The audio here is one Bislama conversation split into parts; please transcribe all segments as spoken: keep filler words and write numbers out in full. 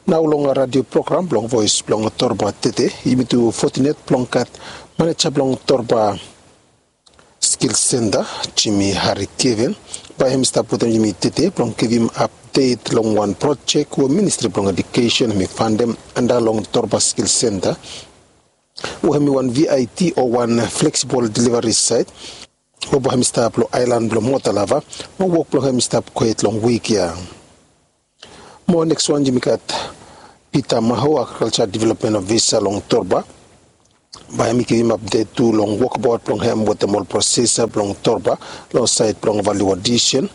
Nao long radio program blong Voes blong Torba tede, yumi tu fotinet blong gat maneja blong Torba Skil Senta, Jimmy Hari Keven, bae hem i stap wetem yumi tede blong givim apdet long wan projek we Ministri blong Edukesen hem i fandem anda long Torba Skil Senta, we hem i wan V I T o wan fleksibol delivari saet, we bae hem i stap long aelan blong Motalava, mo wok blong hem i stap gohed long wik ya. Mo neks wan yumi gat Peter Maho, Agrikalja Developmen Ofisa long Torba, bae hem i givim apdet tu long wokbaot blong hem wetem ol prosesa blong Torba long saed blong valiu adisen,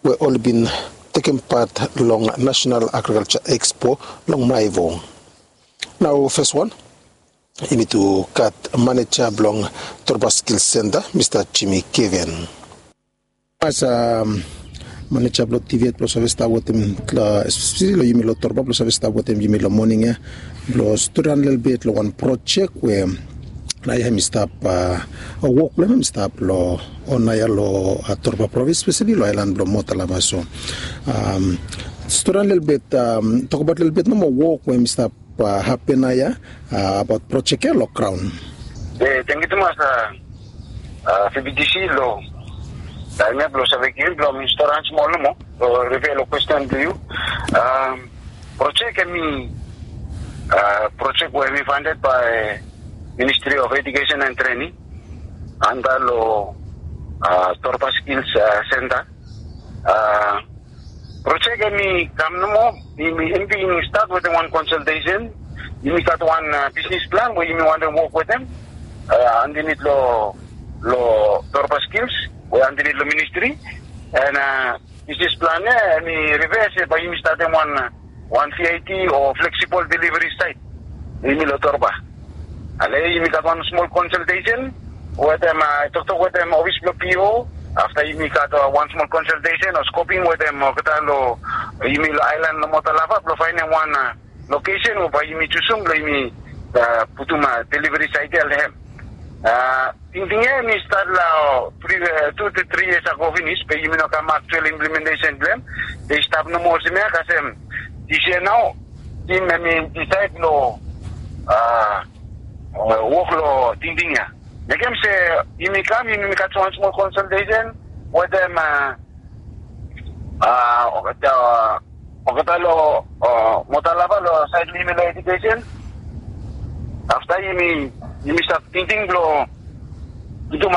we oli bin tekem pat long Nasenal Agrikalja Ekspo long Maevo. Nao fes wan, yumi tu gat maneja blong Torba Skil Senta, Mista Jimmy Keven. As maneja blong T V et blong save stap wetem, espeseli long yumi long Torba blong save stap wetem yumi long moning ya, blong storiran lelebet long wan projek we naoia hem i stap, wok blong hem hem i stap long, naoia long Torba provins, espeseli long aelan blong Motalava. So storiran lelebet, tokbaot lelebet nomo wok we hem i stap hapen naoia, abaot projek ya long graon. Tangkiu tumas, V B T C, long taem ya blong save givim blong mi storiran smol nomo blong riply long kwesten blong yu. Projek hem i projek we hem i fanded bae Ministri of Edukesen and Trening anda long Torba Skil Senta. Projek hem i kam nomo, hem i bin stat wetem wan konsaltesen. Yumi gat wan bisnis plan we yumi wantem wok wetem andanit long Torba Skils we andanit long ministri. And bisnis plan ya hem i rifea se bae yumi statem wan, wan V I T o fleksibol delivari saet. Yumi long Torba, ale yumi gat wan smol konsaltesen wetem, toktok wetem ofis blong P O. Afta yumi gat wan smol konsaltesen o skoping wetem olgeta long, yumi long aelan long Motalava blong faenem wan lokesen we bae yumi jusum blong yumi putum delivari saet ya long hem. Tingting ya hem i stat long tu tu tri yias ago finis, be yumi no kam aktual implementesen blong hem. Hem i stap nomo olsem ya kasem, disia nao tim hem i disaed long wok long tingting ya. Mekem se yumi kam, yumi gat wan smol konsaltesen wetem olgeta long Motalava long saed blong yumi long edukesen. Afta yumi, yumi stap tingting blong putum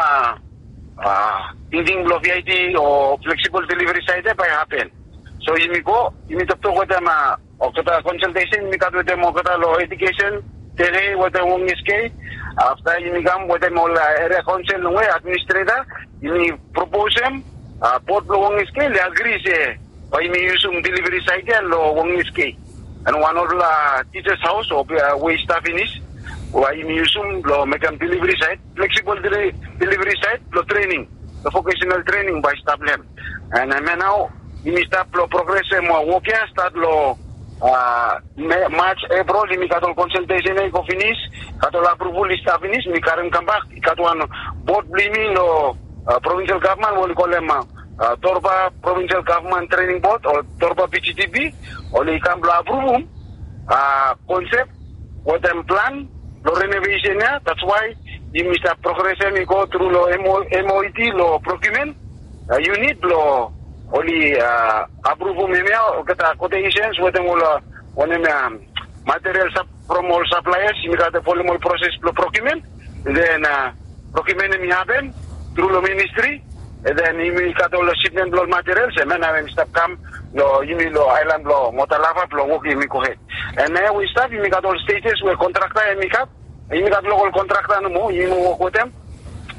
tingting blong V I T o fleksibol delivari saet ya bae hapen. So yumi go, yumi toktok wetem olgeta konsaltesen yumi gat wetem olgeta long edukesen, tere wetem wong S K. Afta yumi kam wetem ol eria kaonsel longwe administreta, yumi proposem bod blong wong S K oli agri se bae yumi yusum delivari saet ya long wong S K. And wan olfala tijas haos o we i stap finis, bae yumi yusum blong mekem delivari saet, fleksibol delivari saet blong trening, long vokesenal trening bae i stap long hem. And hemia nao yumi stap long progresem wok ya, stat long Maj, Epril, yumi gat ol konsaltesen ya i go finis, gat ol apruvol i stap finis, mi karem kambak, i gat wan bod blong yumi long provinsel gavman we oli kolem Torba Provinsel Gavman Trening Bod o Torba P G T P, oli kam blong apruvum konsep wetem plan blong renovesen ya. That's why yumi stap progresem i go tru long M O E T long procurement unit blong oli apruvum hemia, olgeta quotations wetem ol, wanem ya, material from ol suppliers. Yumi gat folem ol proses blong procurement. Then procurement hem i hapen tru long ministri. And then yumi gat ol shipment blong ol materials, hemia nao hem i stap kam long yumi long aelan blong Motalava blong wok hem i gohed. And nao we i stap yumi gat ol stages we kontrakta hem i gat. Yumi gat lokal kontrakta nomo, yumi wok wetem.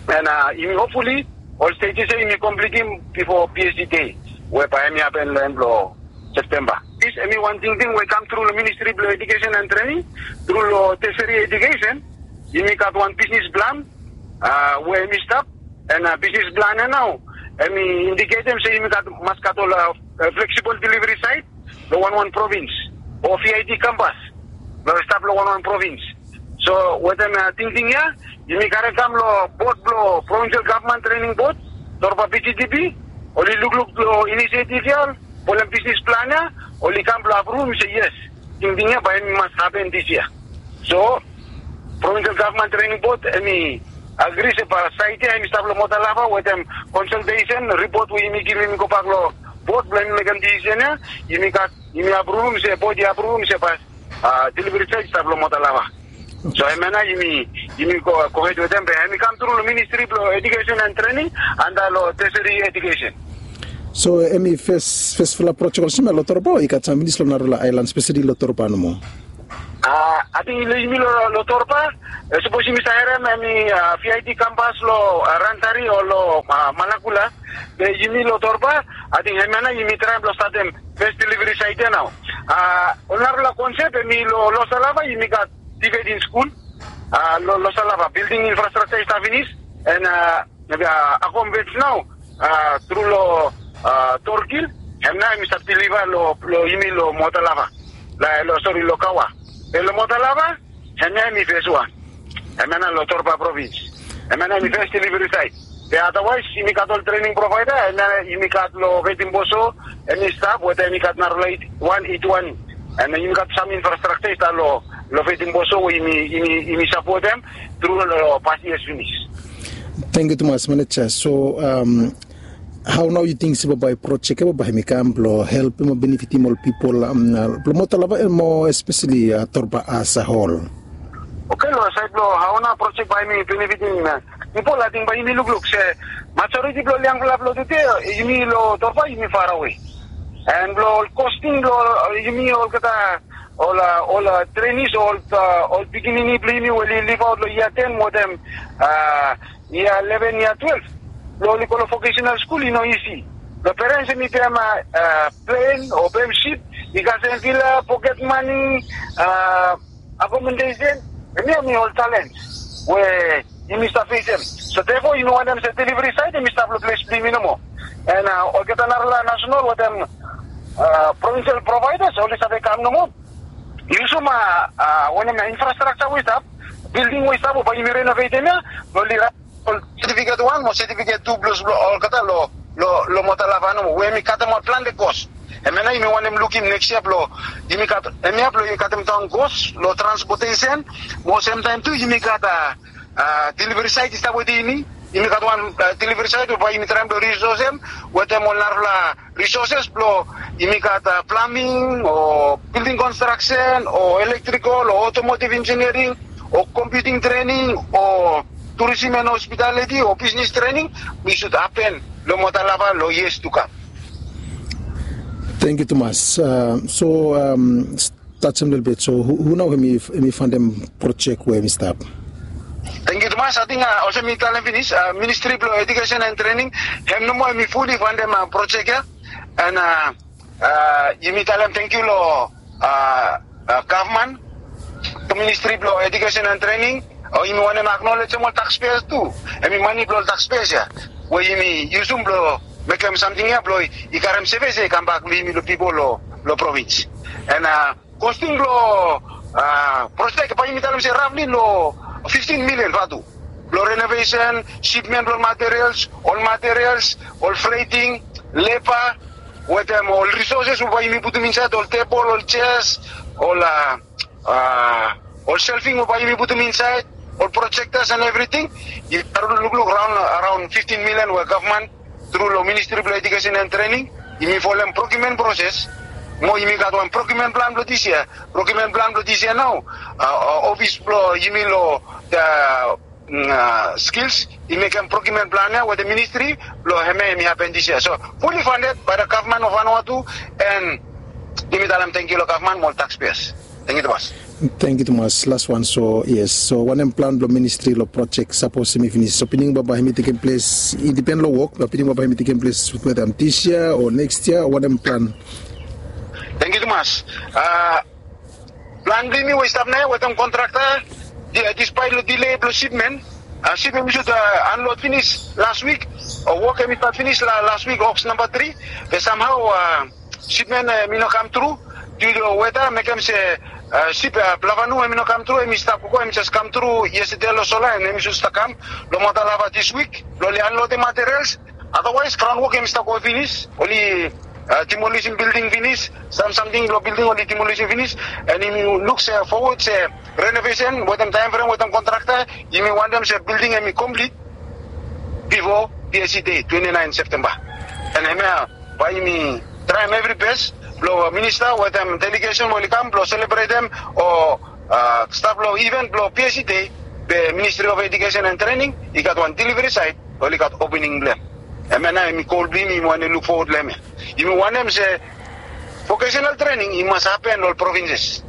And yumi hopfully ol stages ya yumi komplitim bifo P S E day we bae hem i hapen long en blong Septemba. Dis hem i wan tingting we i kam tru long Ministri blong Edukesen and Trening, tru long Tertiary Education. Yumi gat wan bisnis plan we hem i stap, and bisnis plan ya nao hem i indiketem se yumi gat, mas gat ol fleksibol delivari saet long wanwan provins, o V I T kampas blong i stap long wanwan provins. So wetem tingting ya yumi karem kam long bod blong Provinsel Gavman Trening Bod, Torba P G T P. Oli lukluk long inisiativ ya, folem bisnis plan ya, oli kam blong apruvum se yes, Tingting ya bae hem i mas hapen dis yia. So provinsel gavman trening bot hem i agri se bae saet ya hem i stap long Motalava wetem konsaltesen ripot we yumi givim i gobak long bot blong hem i mekem disisen ya. Yumi gat yumi apruvum se bot i apruvum se bae deliveri saet i stap long Motalava. So hemia nao yumi yumi gohed wetem be hem i kamtru long ministri blong edikesen and trening anda long teseri edikesen. So hem i fes fesfala projek olsem ya long Torba o i gat sam finis long narafala aelan speseli long Torba nomo? Ating long yumi long Torba sapos yumi save harem hem i vit kampas long Rantari o long Malakula. Be yumi long Torba ating hemia nao yumi traem blong statem fes deliveri saet ya nao. Ol narafala konsep hem i long Losalava yumi gat diveding skul long Losalava bilding infrastrakta i stap finis. And akomodesen nao tru long Torkil hem nao hem i stap deliva long yumi long Motalava. Long sori long Kawa. Be long Motalava hemia hem i fes wan. Hemia nao long Torba provins. Hemia nao hem i fes deliveri saet. Be adawaes yumi gat ol trening provaeda hemia nao yumi gat long Vetimboso. Hem i stap wetem hem i gat narafala wan eit wan. And yumi gat sam infrastrakta i stap long Vetimboso we yumi sapotem tru long pas yias finis. Tangkiu tumas maneja. So hao nao yu ting se bambae projek ya bambae hem i kam blong helpem o benefitim ol pipol blong Motalava and mo espeseli Torba as a hol? Oke long saed blong hao nao projek bae hem i benefitim pipol ating bae yumi lukluk se majoriti blong ol yangfala blong tude yumi long Torba yumi farawe. And blong ol kosting blong yumi olgeta ol trenis ol pikinini blong yumi we oli livaot long yia ten wetem yia leven yia twelef blong oli go long vokesenal skul i no isi. Long perens hem i pem plen o pem sip i kasem vila poket mani akomodesen. Hemia hem i ol talens we yumi stap fesem. So therefore yumi wantem se deliveri saet hem i stap long ples blong yumi nomo. And olgeta narafala nasenal wetem provinsel provaedas oli save kam nomo. Yusum wanem ya infrastrakta we i stap bilding we i stap o bae yumi renovetem ya blong oli rap ol setifiket wan mo setifiket tu blong olgeta long Motalava nomo we hem i katem ol plante kos. Hemia nao yumi wantem lukim neks yia blong yumi gat hemia blong yumi katem daon kos long transpotesen mo semtaem tu yumi gat deliveri saet i stap wetem yumi. Yumi gat wan deliveri saet we bae yumi traem blong risosem wetem ol narafala risoses blong yumi gat plaming o bilding konstraksen o elektrikol o otomotiv injiniering o kompiuting trening o turisim and hospitaliti o bisnis trening. Mi sud hapen long Motalava long yias tu kam. Tangkiu tumas. So tajem lelebet so hu nao hem i fantem projek we hem i stap? Tangkiu tumas ating olsem mi talem finis ministri blong edikesen and trening hem nomo hem i fuli fantem projek ya. And yumi talem tangkiu long gavman ministri blong edikesen and trening o yumi wantem aknolejem ol takspeas tu. Hem i mani blong ol takspeas ya we yumi yusum blong mekem samting ya blong i karem sevis ya i kambak long yumi long pipol long provins. And kosting blong projek bae yumi talem se rafli long fiftin milian vatu blong renovesen, sipmen blong ol materials, ol materials, ol freting, leba wetem ol risoses we bae yumi putum insaed ol tebol ol jeas ol ol selving we bae yumi putum insaed ol projektas and evriting. Yumi lukluk raon fiftin milian we gavman tru long ministri blong edikesen and trening yumi folem prokiumen proses mo yumi gat wan prokiumen plan blong dis yia. Prokiumen plan blong dis yia nao ofis blong yumi long skils i mekem prokiumen plan ya wetem ministri blong hemia hem i hapen dis yia so fuli fandet bae da gavman of vanua tu. And yumi talem tangkiu long gavman mo ol takspeas. Tangkiu tumas. Tangkiu tumas las wan so yes so wanem plan blong ministri long projek sapos hem i finis so pining baba hem i tekem ples i dipen long wok na pining baba hem i tekem ples wetem dis yia o neks yia o wanem plan? Tangkiu tumas. Plan blong yumi we i stap nao ya wetem kontrakta dispaet long dile blong sipmen sip hem i sud anlod finis las wik o wok hem i stat finis las wik oks namba tri. Be samhao sipmen hem i no kam tru due to weta mekem se sip plavanu hem i no kam tru hem i stap gogo hem i jes kam tru yestede long sola and hem i sud stap kam long Motalava dis wik blong oli anlodem materials. Adawaes graon wok hem i stap go finis oli Demolisim bilding finis, sam samting blong bilding oli demolisim finis. And yumi luk se fowod se renovesen wetem taem frem wetem kontrakta, yumi wantem se bilding hemi komplit bifo PSC dei twenti naen Septemba. And hemia bae yumi traem evri bes blong minista wetem delegesen we oli kam blong selebretem o stap long iven blong PSC dei, be Ministri of Edukesen and Trening i gat wan deliveri saet oli gat opening blong hem. Hemia nao hemi gol blong yumi, yumi wantem luk fowod long hemia. Yumi wantem se vokesenal trening i mas hapen long ol provinses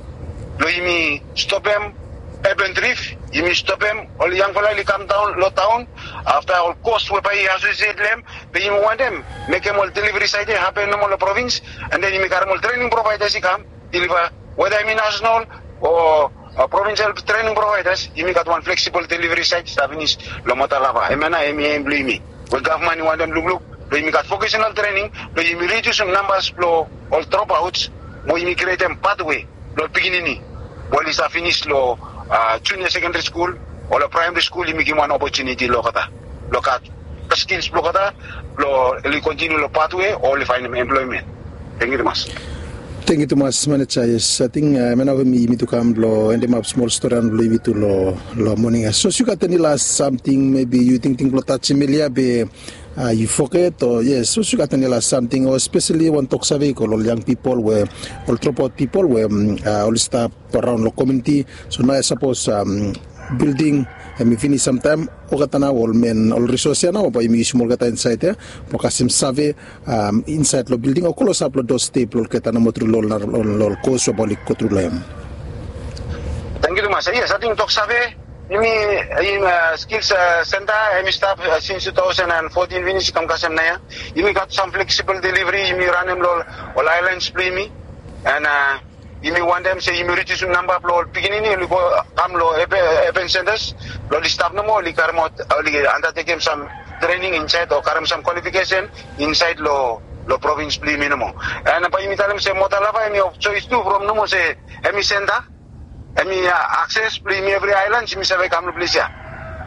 blong yumi stopem urban drift, yumi stopem ol yangfala oli kam daon long taon afta ol kos we bae i asosiet long hem. Be yumi wantem mekem ol deliveri saet ya hapen nomo long provins, and then yumi karem ol trening provaedas i kam deliva, weda hemi nasenal o provinsel trening provaedas, yumi gat wan fleksibol deliveri saet i stap finis long Motalava. Hemia nao hemi em blong yumi we gavman i wantem lukluk blong yumi gat vokesenal trening blong yumi ridiusim nambas blong ol dropaots mo yumi krietem patwe long ol pikinini we oli stap finis long junia sekendari skul o long praemari skul, yumi givim wan opotuniti long olgeta blong gat skils blong olgeta blong oli kontiniu long patwe o oli faenem emploemen. Tangkiu tumas. Tangkiu tumas maneja. Yes, ating hemia nao we yumi tu kam blong endemap smol storian blong yumi tu long moning ya. Sapos yu gat eni las samting mebi yu tingting blong tajem elia be yu foget o yes, sapos yu gat eni las samting o espeseli wan toksave i go long ol yang pipol we ol dropaot pipol we oli stap araon long komuniti. So nao ya sapos bilding hemi finis samtaem, olgeta nao ol men ol risos ya nao bae yumi yusim olgeta insaed ya blong kasem save insaed long bilding o klosap long dosde blong olgeta nomo tru long ol kos we bae oli gotru long hem. Tangkiu tumas. Yes, ating toksave yumi, skils senta hemi stap sins tu taosen and fotin finis i kam kasem naoia. Yumi gat sam fleksibol deliveri yumi ranem long ol aelans blong yumi. And yumi wantem se yumi ridiusim namba blong ol pikinini oli go kam long urban sentas blong oli stap nomo, oli karemaot, oli andatekem sam trening insaed o karem sam kwalifikesen insaed long provins blong yumi nomo. And bae yumi talem se Motalava hemi of joes tu from nomo se hemi senta, hemi akses blong yumi evri aelans yumi save kam long ples ya.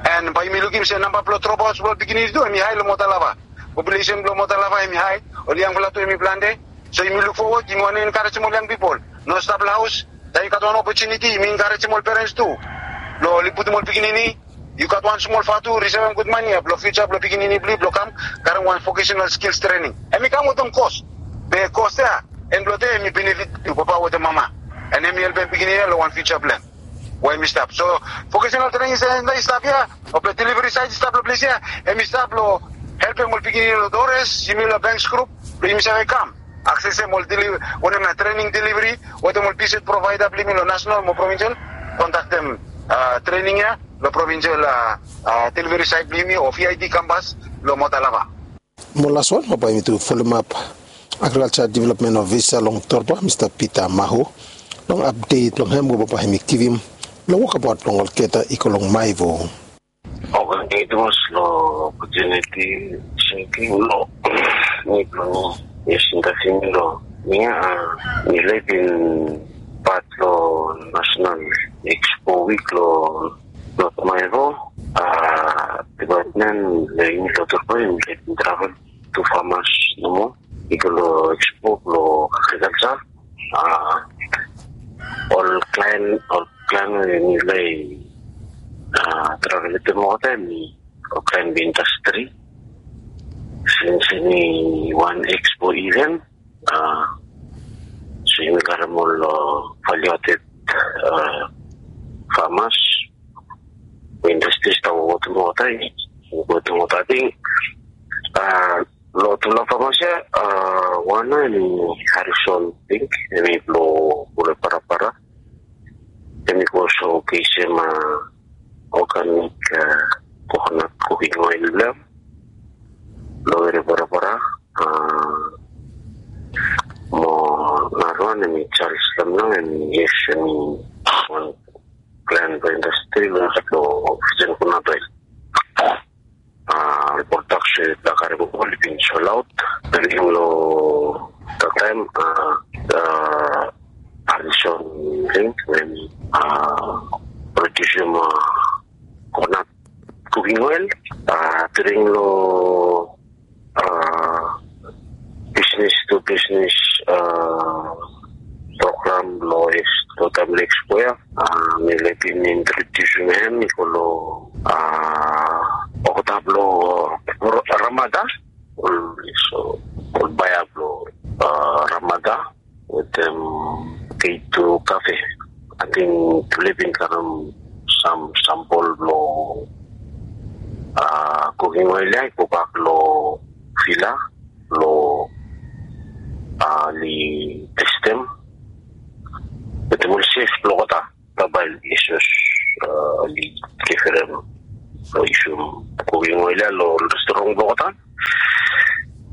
And bae yumi lukim se namba blong dropaots blong ol pikinini tu hemi hae long Motalava. Populesen blong Motalava hemi hae, ol yangfala tu hemi plante. So yumi luk fowod, yumi wantem enkarejem ol yang pipol no stap long haos. Taem yu gat wan opotuniti yumi enkarejem ol perens tu blong oli putum ol pikinini. Yu gat wan smol fatu, risevem gud mane ya blong fiuja blong pikinini blong yu blong kam karem wan vokesenal skils trening. Hemi kam wetem kos, be kos ya en blong de hemi benefit yu papa wetem mama, and hemi helpem pikinini ya long wan fiuja blong hem we hemi stap. So vokesenal trening senta i stap ya o blong deliveri saet i stap long ples ya, hemi stap long helpem ol pikinini long Torres, yumi long Banks grup blong yumi save kam aksesem ol wanem na trening deliveri wetem ol visit provaeda blong yumi long nasenal mo provinsel. Kontaktem trening ya long provinsel deliveri saet blong yumi o VID kampas long Motalava. Mo las wan bambae yumi tu folemap agrikalja developmen ofisa long Torba, Mista Pita Mahu, long apdet blong hem we bambae yumi givim long wokabaot blong olgeta i go long Maevo. Oke, tangkiu tumas long opotuniti. Sengting long mi blong yes, interviu mi long mi a mi laik bin pat long nasenal ekspo wik long North Maevo. A dipatmen long yumi long Torba yumi laik bin travel tu famas nomo i go long ekspo blong agrikalja. A ol klaen ol klaen we yumi laik a travel wetem olgeta hemi ol klaen blong indastri. Sins hemi wan ekspo iven a so yumi karem ol valiu aded famas we indastri i stap wok wetem olgeta. Wok wetem olgeta ating a long tufala famas ya, a wan nao hemi Harrison Pink, hemi blong Pule Parapara. Hemi go sokesem a oganik kokonat kuking oel blong hem long Pule Parapara. A mo narawan hemi Charles Lamlang, hemi yes hemi wan klaen blong indastri long sait blong fijen kokonat oel. A ol prodaks we i karem oli bin solaot. Taem long taem a Harrison Pink we hemi prodiusim kokonat kuking oel. A taem long a bisnis tu bisnis, a, program lo es lo taem lo Expo ya. A, mi laik bin introdiusim hem i go lo, a, olgeta blo Ro-, Ramada, ol, so, ol baea blo, a, Ramada wetem K two Cafe. Ating tufala i bin karem sam sampol blo, a, kuking oel ya i gobak lo vila blo, a, oli testem wetem ol sef blo olgeta. Bae oli, a, oli givim lo yusum kuking oel ya lo restoran blo olgeta.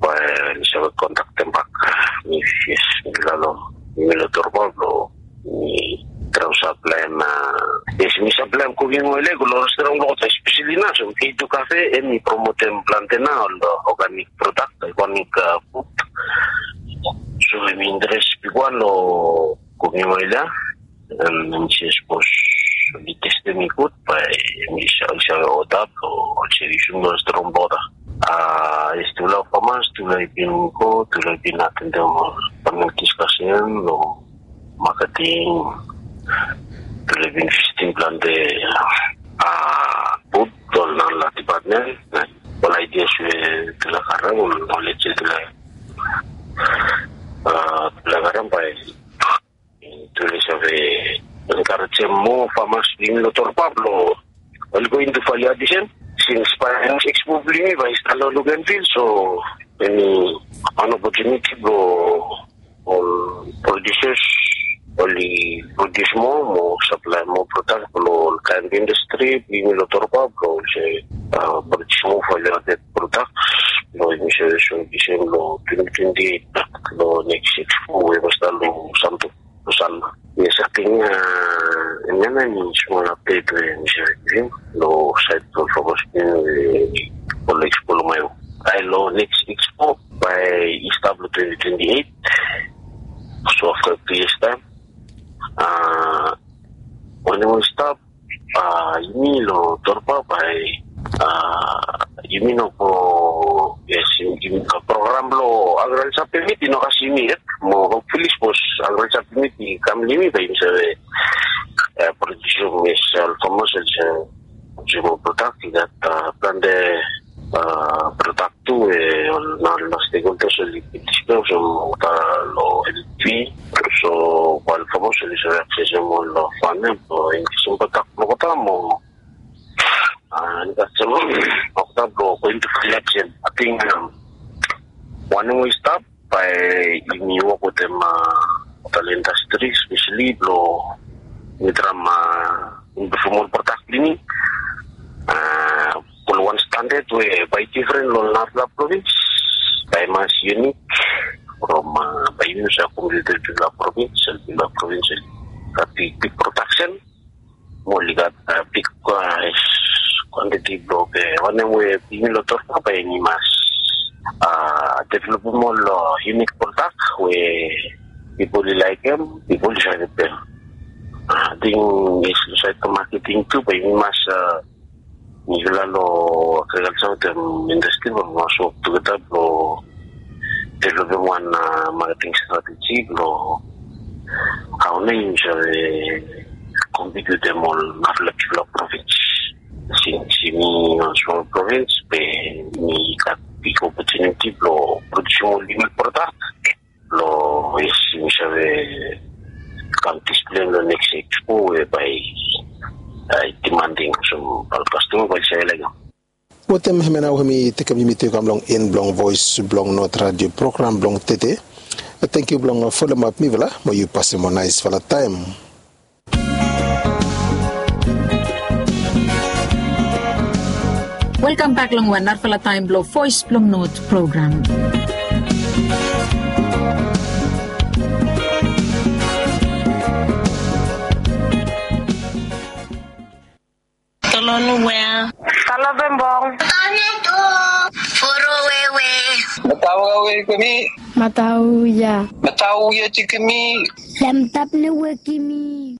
Bae oli save kontaktem bak mi, yes, mi vila lo, mi lo Torba blo mi traem saplaem, a, yes, mi saplaem kuking oel ya i go lo restoran blo olgeta, espeseli nao so K two Cafe, hemi promotem plante nao ol organik prodak, organik, a, fud. So hemi interes bigwan lo kuking oel ya. Em, hemi se sapos oli testem i gud, bae hemi sa-, oli save oda blo oli save yusum lo restoran blo olgeta. A, yes, tufala famas, tufala i bin go, tufala i bin atendem panel diskasen lo maketing, tufala i bin visitim plante, a, booth lo narafala dipatmen, ol aidias we tufala karem, ol nolej we tufala, a, tufala karem bae tufala i save enkarejem moa famas blong yumi lo Torba blo oli go into value addition. Since bae next expo blong yumi bae i stap lo look and feel, so hemi wan opotuniti blo ol producers oli produce moa mo saplaem moa prodak blo ol kaen indastri blong yumi lo Torba blo oli save, a, produce moa value added products blo yumi save soem olsem lo twenty twenty-eight lo next expo we bae stap lo Santo, lo Sanna. Yes, ating, a, hemia nao hemi smol update we mi save givim lo saed blo famas blong yumi we oli expo lo Maehu. Bae lo next expo bae i stap lo twenty twenty-eight. So afta tu yias taem, a, wanem we i stap, a, yumi lo Torba bae, a, yumi no go, yes, yumi, yumi, a, program blo agriculture permit i no kasem yumi yet. Mo hopefully sapos agriculture permit i kam lo yumi bae yumi save, a, produce, yes, ol famas oli save produce moa prodak. I gat, a, plante, a, prodak tu we ol narafala stakeholders oli bin discuss olgeta lo L P. So bae ol famas oli save aksesem ol famas blo inkrisem prodak blo olgeta mo, a, inkrisem olgeta blo go into value addition. Ating, a, wanem we i stap bae yumi wok wetem, a, ol indastri espeseli blo yumi traem, a, impruvem ol prodak blong yumi. A, ol wan standard we bae i difren lo narafala provins, bae i mas unique from, a, bae yumi save compete wetem bigfala provins, bigfala provins oli gat big, big production mo oli gat, a, big, a, quantity blo, e, wanem we yumi lo Torba bae yumi mas, a, developem ol, a, unique product we pipol i laekem, pipol i save pem. A, ating, yes, lo saed blo marketing tu bae yumi mas, a, mifala lo agriculture wetem indastri bae mi mas wok tugeta blo developem wan, a, marketing strategy blo hao nao yumi save compete wetem ol narafala bigfala provins. Since yumi wan smol provins be yumi gat big opportunity blo produce ol unique product blo, yes, yumi save kam display lo next expo we bae i demanding olsem ol kastoma bae oli save laekem. Wetem hemia nao hemi tekem yumi tu i kam long en blong Voes blong Not Radio program blong tede. Tangkiu blong folem ap mifala mo yu pasem wan naesfala taem. Welkam bak long wan narafala taem blong Voes blong Not program. Tolonu wea. Talo bembong. Foro wewe. Matau wewe kemi. Matau ya. Matau ya cikemi. Lamtap ne wekimi.